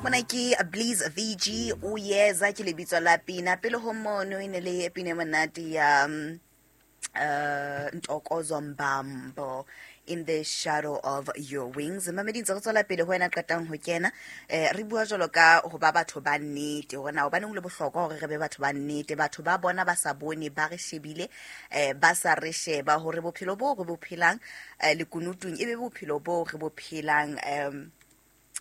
Mona ke Bliss VG o yeza ke lebitso la pina. Pele ho mono e ne le pina e monate ya Ntokozo Mbambo, "In the Shadow of Your Wings". Mamedi, ntse re tswela pele ho wena qetang ho kena. Re bua jwalo ka ho ba batho ba nnete, hore na hobaneng ho le bohlokwa hore re be batho ba nnete. Batho ba bona ba sa bone, ba re shebile, ba sa re sheba, hore bophelo bo re bo phelang lekunutung e be bophelo bo re bo phelang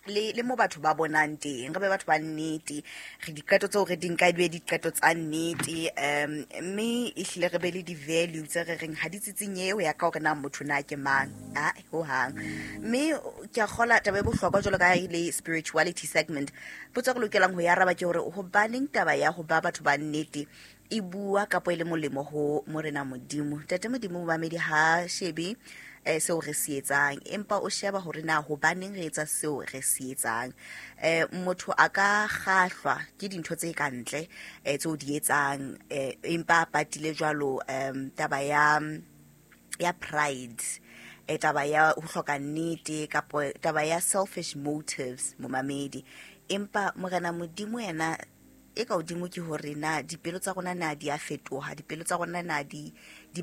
le mo batho ba bonang teng. Re be batho ba nnete, re diqeto tseo re di nka e be diqeto tsa nnete, mme ehlile re be le di-value tse re reng ha di tsitsinyehe ho ya ka hore na motho na ke mang a hohang. Mme ke a kgola taba e bohlokwa jwalo ka ha e le spirituality segment. Potso e re lokelang ho e araba ke hore hobaneng taba ya ho ba batho ba nnete e bua kapo e le molemo ho Morena Modimo, Tate Modimo. Momamedi, ha shebe seo re se etsang, empa o sheba hore na hobaneng re etsa seo re se etsang. Motho a ka kgahlwa ke dintho tse ka ntle tseo di etsang, empa a patile jwalo taba ya pride, taba ya ho hloka nnete kapo taba ya selfish motives, momamedi. Empa Morena Modimo yena e ka hodimo ke hore na dipelo tsa rona na di a fetoha, dipelo tsa rona na di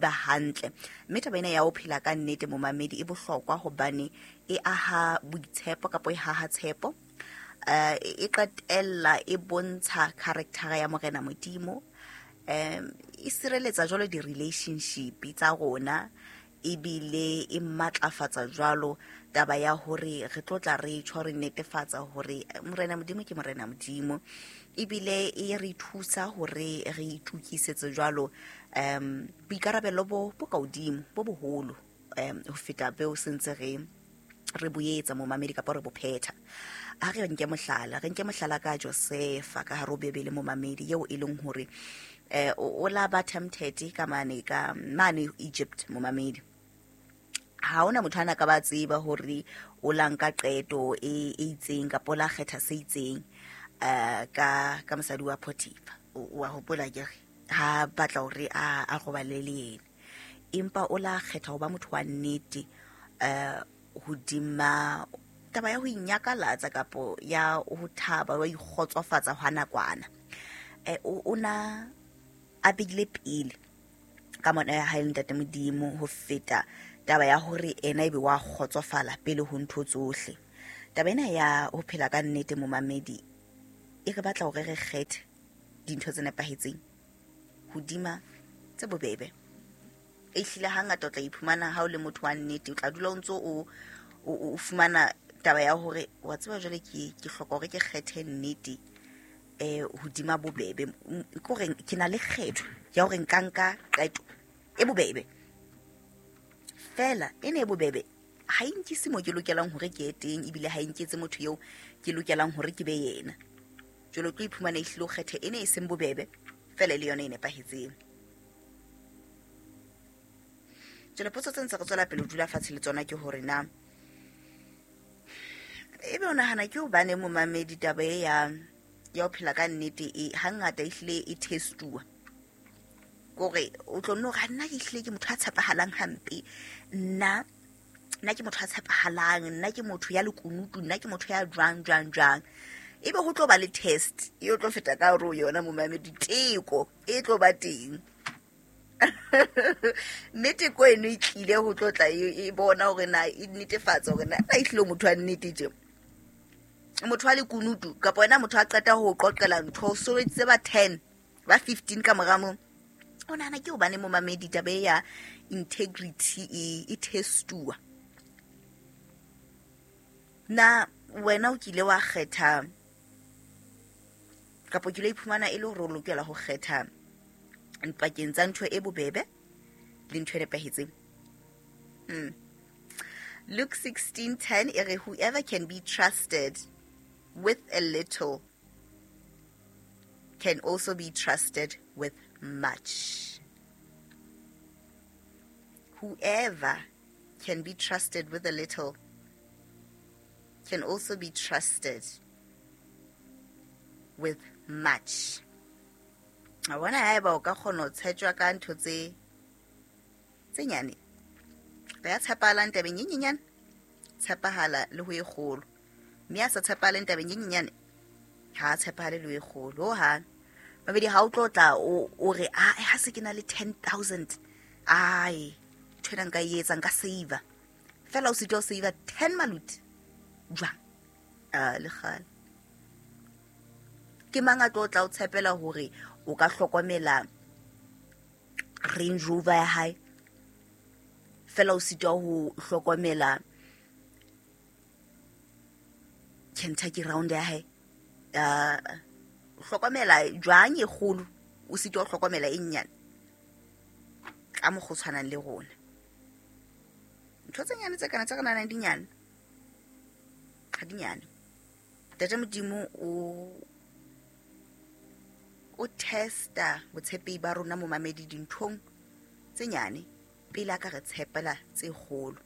ba hantle. Mme taba ena ya ho phela ka nnete, momamedi, e bohlokwa hobane e aha boitshepo kapo e haha tshepo, e qetella e bontsha character ya Morena Modimo, e sireletsa jwalo di-relationship tsa rona, ebile e matlafatsa jwalo taba ya hore re tlo tla re tjho re netefatsa hore Morena Modimo ke Morena Modimo. Ebile e re thusa hore re itukisetse jwalo boikarabelo bo ka hodimo bo boholo ho feta beo sentse re boetsa, momamedi, kapa re bo phetha. Ha re nke mohlala, re nke mohlala ka Josefa ka hare ho Bebele, momamedi, eo e leng hore o la ba tempted ka mane ka mane Egypt. Momamedi, ha hona motho ana ka ba tseba hore o la nka qeto e itseng kapa o la kgetha se itseng ka mosadi wa Potiphar. Wa hopola ke re ha batla hore a robale le yena, empa o la kgetha ho ba motho wa nnete hodima taba ya ho inyakalatsa kapo ya ho thaba wa ikgotsofatsa hwa nakwana. O na a beile pele ka mona ya hae le Ntate Modimo ho feta taba ya hore ena ebe wa kgotsofala pele ho ntho tsohle. Taba ena ya ho phela ka nnete, momamedi, e re batla hore re kgethe dintho tse nepahetseng hodima tse bobebe. E hlile hangata o tla iphumana ha o le motho wa nnete, o tla dula o ntso o fumana taba ya hore wa tseba jwale ke hloka hore ke kgethe nnete hodima bobebe. Ke hore ke na le kgetho ya hore nka nka qeto e bobebe, fela e ne e bobebe ha e nkise mo ke lokelang hore ke ye teng, ebile ha e nketse motho eo ke lokelang hore ke be yena. Jwale o tlo iphumana e hlile o kgethe e ne e seng bobebe, fela e le yona e nepahetseng. Jwale potso tse ntse re tswela pele ho dula fatshe le tsona ke hore na ebe o nahana ke hobane, momamedi, taba e ya ho phela ka nnete e hangata ehlile e testuwa? Kore o tlo nno hore nna ke hlile ke motho a tshepahalang hampe, nna ke motho a tshepahalang, nna ke motho ya lekunutu, nna ke motho ya jwang jwang jwang. Ebe ho tlo ba le test e o tlo feta ka hore o yona, momamedi, teko e tlo ba teng, mme teko eno e tlile ho tlo tla e bona hore na e netefatsa hore na na ehlile o motho wa nnete tje, motho wa lekunutu, kapa wena motho a qeta ho qoqela ntho o sobeditse ba 10 ba 15 ka mora moo. O nahana ke hobane, momamedi, taba e ya integrity e testuwa? Na wena o kile wa kgetha kapa o kile iphumana e le hore o lokela ho kgetha pakeng tsa ntho e bobebe le ntho e nepahetseng? Luke 16:10 e re, "Whoever can be trusted with a little can also be trusted with much." Whoever can be trusted with a little can also be trusted with much. A bona haeba o ka kgona ho tshetjwa ka ntho tse nyane, re ya tshepahalang tabeng e nyenyane, tshepahala le ho e kgolo, mme a sa tshepahaleng tabeng e nyenyane. Ha a tshepahale le e kgolo hohang. Mamedi, ha o tlo tla o re a ha se ke na le 10,000, ai ntho ena nka e etsa, nka save. Fela o sitwa o save 10 maluti jwang? A le kgale. Ke mang a tlo tla o tshepela hore o ka hlokomela Range Rover ya hae, fela o sitwa ho hlokomela Kentucky Round ya hae? Hlokomela jwang e kgolo, o sitwa ho hlokomela e nnyane? Ka mokgwa o tshwanang le rona, ntho tse nyane tse kana tse re nahanang dinyane, ha dinyane. Ntate Modimo o testa botshepehi ba rona, momamedi, dinthong tse nyane pele a ka re tshepela tse kgolo.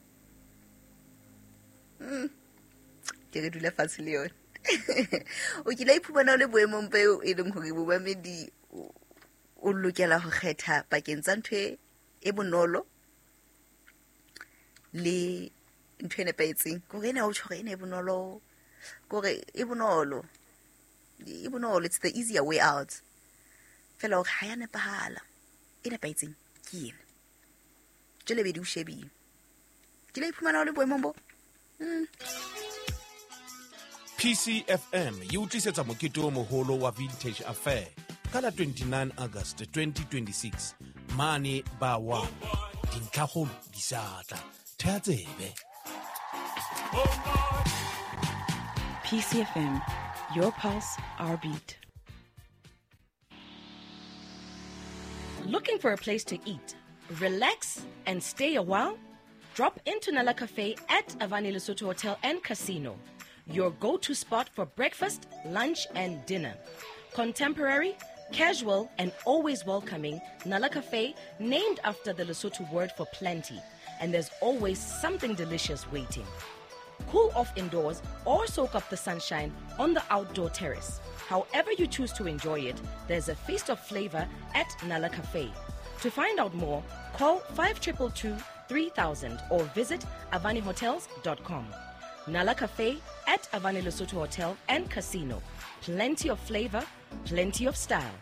Ke re dula fatshe le yona. O kile iphumana o le boemong beo e leng hore, momamedi, o lokela ho kgetha pakeng tsa ntho e bonolo le ntho e nepahetseng? Kore ena o tjho hore ena e bonolo, kore e bonolo, e bonolo, it's the easier way out, fela hore ha ya nepahala, e nepahetseng ke ena. Jwale bedi o shebile, ke la iphumana o le boemong bo. PCFM e o tlisetsa mokete o moholo wa Vintage Affair ka la 29 August 2026 mane ba 1. Dintlhakgolo di sa tla, thea tsebe. PCFM, your pulse, our beat. Looking for a place to eat, relax, and stay a while? Drop into Nala Cafe at Avani Lesotho Hotel and Casino, your go to spot for breakfast, lunch, and dinner. Contemporary, casual, and always welcoming, Nala Cafe, named after the Lesotho word for plenty, and there's always something delicious waiting. Cool off indoors or soak up the sunshine on the outdoor terrace. However you choose to enjoy it, there's a feast of flavor at Nala Cafe. To find out more, call 5222 3000 or visit avanihotels.com. Nala Cafe at Avani Lesotho Hotel and Casino. Plenty of flavor, plenty of style.